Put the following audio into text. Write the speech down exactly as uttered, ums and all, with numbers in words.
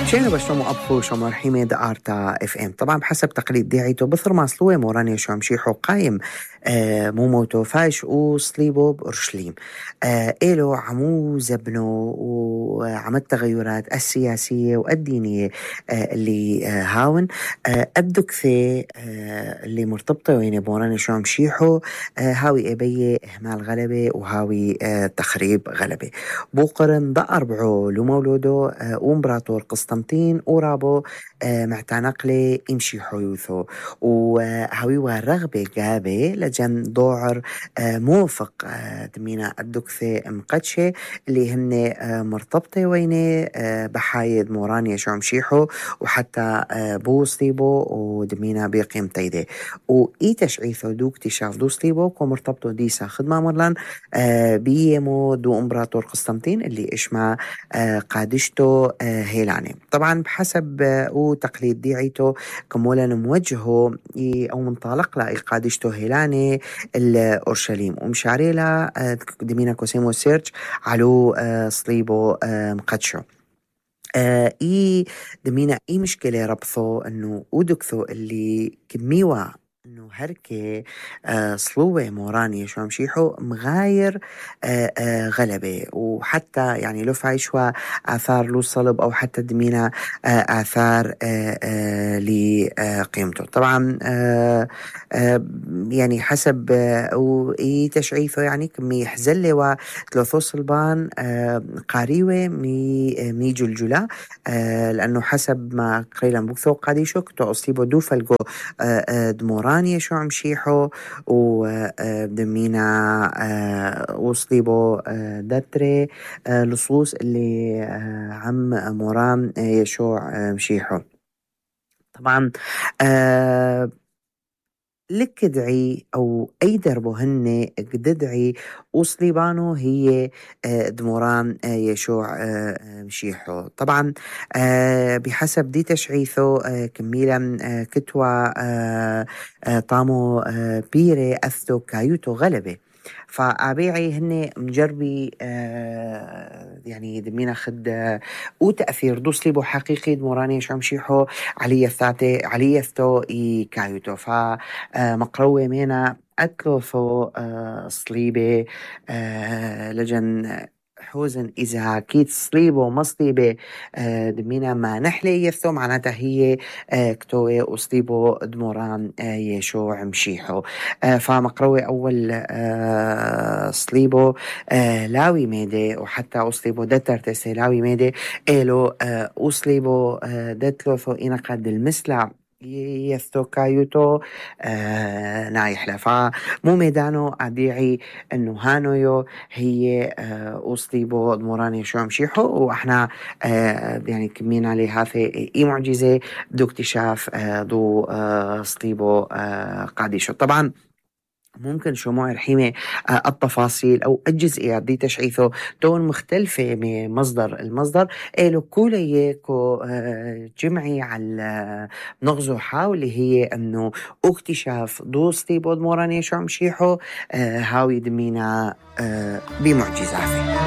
شينا بشتمو أبخو شمر حميد آرتا اف ام. طبعا بحسب تقليد ديعيتو بثر ما سلوه موراني شو مشيحو قايم آه موموتو فايش وصليبو بأورشليم. آه إلو عمو زبنو وعم التغيرات السياسية والدينية آه اللي آه هاون آه الدكثة آه اللي مرتبطة وين موراني شو مشيحو آه هاوي إبية إهمال غلبة وهاوي آه تخريب غلبة. بوقرن ضأر بعو لمولودو آه ومبراطور قسطنطين ورابو آه معتنقلي يمشي حيوثو وهاوي ورغبة جابة لجن ضوعر آه موفق آه دمينا الدكثة مقدشة اللي هن آه مرتبطة وينه آه بحايد مورانيا شو مشيحو وحتى آه بوصليبو ودمينا بيقيم تيدي وإي تشعيثو دو اكتشاف دو صليبو ومرتبطو ديسا خدمة مرلان آه بيمو دو امبراطور قسطنطين اللي اشمع آه قادشتو آه هيلاني. طبعا بحسب آه وتقليد ديعيتو كمولا موجهو او منطلق لا قادشتو هيلاني الأورشليم ومشاريلا آه دمينا كوسيمو سيرش علو آه صليبو آه مقدشو. آه إي دمينا إي مشكلة ربطو إنه ودكثو اللي كميوا إنه هركي آه صلوة موراني شو مشيحو مغاير آه آه غلبة وحتى يعني لو فايشوا آثار له صلب أو حتى دمينا آه آثار آه آه لقيمته. طبعا آه آه يعني حسب آه وإي تشعيثه يعني كمي حزلة وثلاثو صلبان آه قاريوة مي آه مي جلجلة آه لأنه حسب ما قيلا بوكثو قاديشو كتو أصيبو دو فلقو آه آه دموراني شو عمشيحو ودمينا آه وصليبو آه دتري آه لصوص اللي آه عم مورام آه يشوع آه مشيحو. طبعا آه لك دعي أو أي دربو هن قددعي وصليبانو هي آه دموران آه يشوع آه مشيحو. طبعا آه بحسب دي تشعيثو آه كميلا آه كتوى آه آه طامو آه بيري أثو كايوتو غلبة فأبيعي هن مجربي آه يعني دمينا خد آه وتأثير دو صليبو حقيقي دموراني شو مشيحو علي الثاتي علي الثو إي كايوتو ف آه مقروة مينا أتلوثو آه صليبة آه لجن حوزن إذا كيت صليبة ومصليبة آه دمينا ما نحلي يثو معناتها هي آه كتوة وصليبو دموران آه يشوع مشيحو. آه فمقروة أول آه صليبو آه لاوي ميدي وحتى وصليبو دتر تسي لاوي ميدي إلو آه وصليبو آه دتلوثو إنا قد المسلع يثو كايوتو آه نايحلة فمو ميدانو أبيعي إنه هانويو هي آه وصليبو دموراني شو مشيحو وإحنا آه يعني كمينا لهذه إي معجزة دو اكتشاف آه دو آه صليبو آه قاديشو. طبعا ممكن شموع رحيمة آه التفاصيل أو الجزئيات دي تشعيثه تون مختلفة من مصدر المصدر إلو كوليكو آه جمعي على نغزو حاولي هي أنه اكتشاف دو صليبو دموراني شو مشيحو آه هاوي دمينا آه بمعجزة.